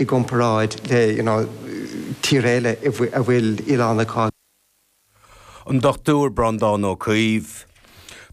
I gcomparáid le you know tír eile a bhfuil oileán acu. An Dr Breandán Ó Caoimh.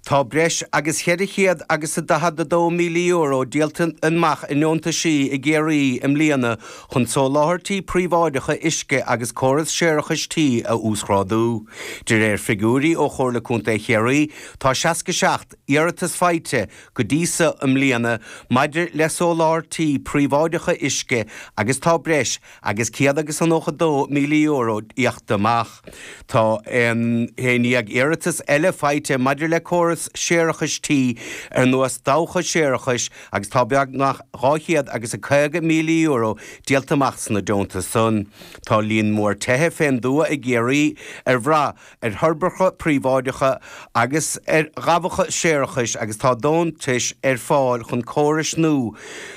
Tá breis agus cheithre chéad agus a €42,000 díolta amach i ndeontaisí i gCiarraí i mbliana chun soláthairtí príobháideacha uisce agus córas séarachais tí a uasghrádú. De réir figiúirí ó Chomhairle Contae Chiarraí, tá 67 iarratas faighte go dtí so i mbliana maidir le soláthairtí príobháideacha uisce agus tá breis agus €192,000 íoctha amach. Tá 11 iarratas eile faighte maidir le córas séarachais tí ar nós dabhcha séarachais agus tá beagnach €250,000 díolta amach sna deontais san. Tá líon mór tithe fén dtuath i gCiarraí ar bhrath ar thoirbeacha príobháideacha agus ar dhabhacha séarachais agus tá deontais ar fáil chun córais nua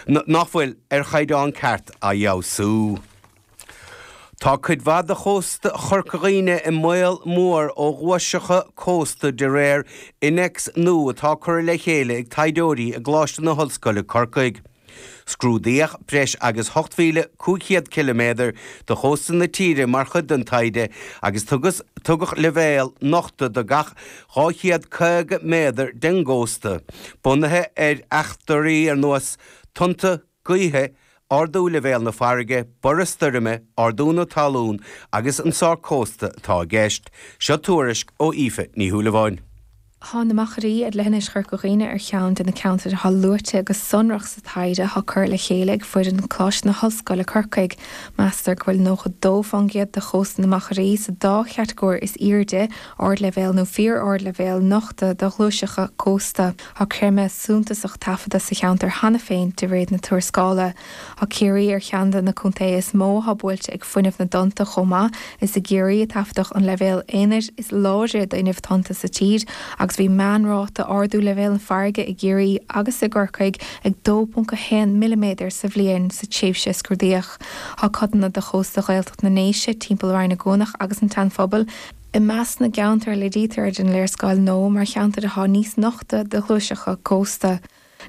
nach bhfuil ar chaighdeán ceart a fheabhsú. Tá cuid mhaith de chósta Chorca Dhuibhne i mbaol mór ó ghuaiseacha cósta de réir innéacs nua atá curtha le chéile ag taighdeoirí i gColáiste na hOllscoile Corcaigh. Scrúdaíodh breis agus 8,500 ciliméadar de chósta na tíre mar chuid den taighde agus tugadh leibhéal nochta do gach 250 méadar den gcósta, bunaithe ar fhachtóirí ar nós tonnta gaoithe, ardú leibhéal na farraige, borradh stoirme, ardú na talún agus an sórt cósta atá i gceist. Seo tuairisc ó Aoife Ní Shúilleabháin. Tá na Machairí ar leithinis Chorca Dhuibhne ar cheann de na ceantair atá luaite go sonrach sa taighde atá curtha le chéile ag foireann Choláiste na hOllscoile Corcaigh. Meastar go bhfuil 92% de chósta na Machairí sa dá chatagóir is airde, ardleibhéal nó fíor-ardleibhéal, nochta do ghluaiseacha cósta. Tá creimeadh suntasach taifeadta sa cheantar cheana féin de réir na tuarascála. Tá Ciarraí ar cheann de na contaetha is mó atá buailte ag fuinneamh na dtonnta chomh maith. Is i gCiarraí a taifeadadh an leibhéal aonair is láidre d'fhuinneamh tonnta sa tír agus bhí meánráta ardú leibhéal na farraige i gCiarraí agus i gCorcaigh ag 2.1 milliméadar sa bhliain sa tréimhse a scrúdaíodh. Tá codanna de chósta Ghaeltacht na nDéise, timpeall Rinn na gCuanach agus an tSean-Phobal, i measc na gceantar a léirítear ar an léarscáil nua mar cheantair atá níos nochta do ghluaiseacha cósta.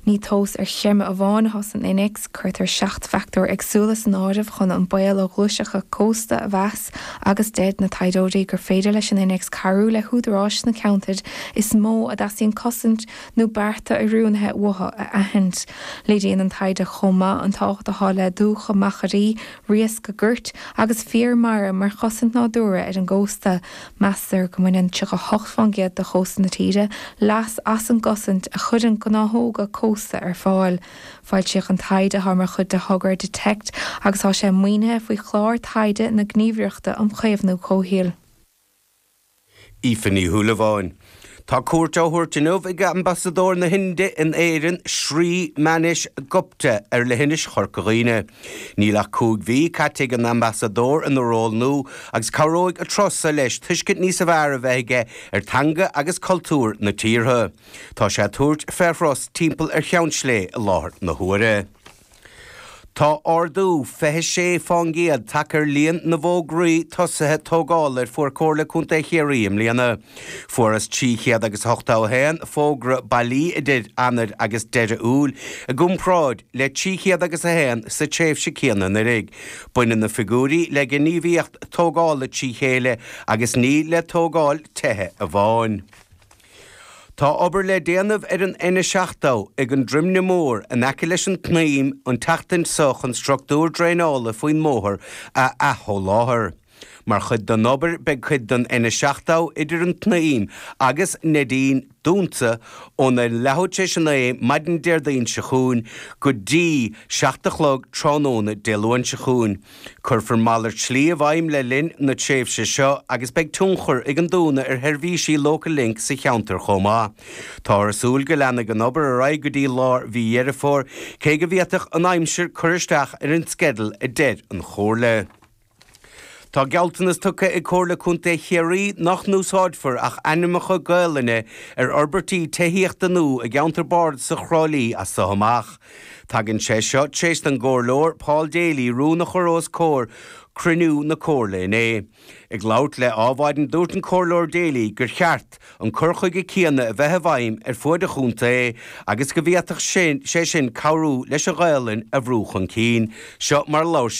Ní tomhas ar chreimeadh amháin atá san innéacs, cuirtear 7 bhfactóir éagsúla san áireamh chun an baol ó ghluaiseacha cósta a mheas agus deir na taighdeoirí gur féidir leis an innéacs cabhrú le húdaráis sna ceantair is mó a dteastaíonn cosaint nó bearta oiriúnaithe uathu a aithint. Léiríonn an taighde chomh maith an tábhacht atá le dumhcha machairí, riasca goirt agus féar mara mar chosaint nádúrtha ar an gcósta. Meastar go mbaineann 38% de chósta na tíre leas as an gcosaint a chuireann gnáthóga cósta ar fáil. Foilsíodh an taighde atá mar chuid de thogra Detect agus tá sé maoinithe faoi chlár taighde na Gníomhaireachta um Chaomhnú Comhshaoil. Aoife Ní Shúilleabháin. Tá cuairt á thabhairt inniu ag Ambasadóir na hInde in Éirinn, Shri Manish Gupta, ar leithinis Chorca Dhuibhne. Níl ach 5 mhí caite ag an Ambasadóir ina ról nua agus cabhróidh a turas so leis tuiscint níosa bhfearr a bheith aige ar teanga agus cultúr na tíortha. Tá sé ag tabhairt fé thuras timpeall ar Cheann Sléibhe i láthair na huaire. Tá ardú 26% tagtha ar líon na bhfógraí tosaithe tógála ar fuair Comhairle Contae Chiarraí i mbliana. Fuarthas 381 fógra bailí idir Eanáir agus deireadh Iúil, i gcomparáid le 301 sa tréimhse céanna anuraidh. Baineann na figiúirí le gníomhaíocht tógála trí chéile agus ní le tógáil tithe amháin. Tá obair le déanamh ar an N70 ag an Droimne Mór in aice leis an tSnaidhm an tseachtain seo chun struchtúr draenála faoin mbóthar a athsholáthar. Mar chuid den obair beidh cuid den N70 idir an tSnaidhm agus Neidín dúnta óna leathuair tar éis a 9 maidin Déardaoin seo chugainn go dtí 7 a chlog tráthnóna Dé Luain seo chugainn. Cuirfear malairt slí i bhfeidhm le linn na tréimhse seo agus beidh tionchar ag an dúnadh ar sheirbhísí Local Link sa cheantar chomh maith. Táthar ag súil go leanfaidh an obair ar aghaidh go dtí lár mhí Dheireadh Fómhair, cé go bhféadfadh an aimsir cur isteach ar an sceideal a deir an Chomhairle. Tá gealltanas tugtha ag Comhairle Contae Chiarraí nach n-úsáidfear ach ainmneacha Gaelainne ar fhorbairtí tithíochta nua i gceantar bardasach Thrá Lí as so amach. Tagann sé seo tar éis don gComhairleoir Paul Daly rún a chur os comhair cruinniú na Comhairle inné. Ag labhairt le Adhmhaidin dúirt an Comhairleoir Daly gur cheart an cur chuige céanna a bheith i bhfeidhm ar fuaid an chontae agus go bhféadfadh sé sin cabhrú leis an Ghaelainn a bhrú chun cinn. Seo mar a labhair sé.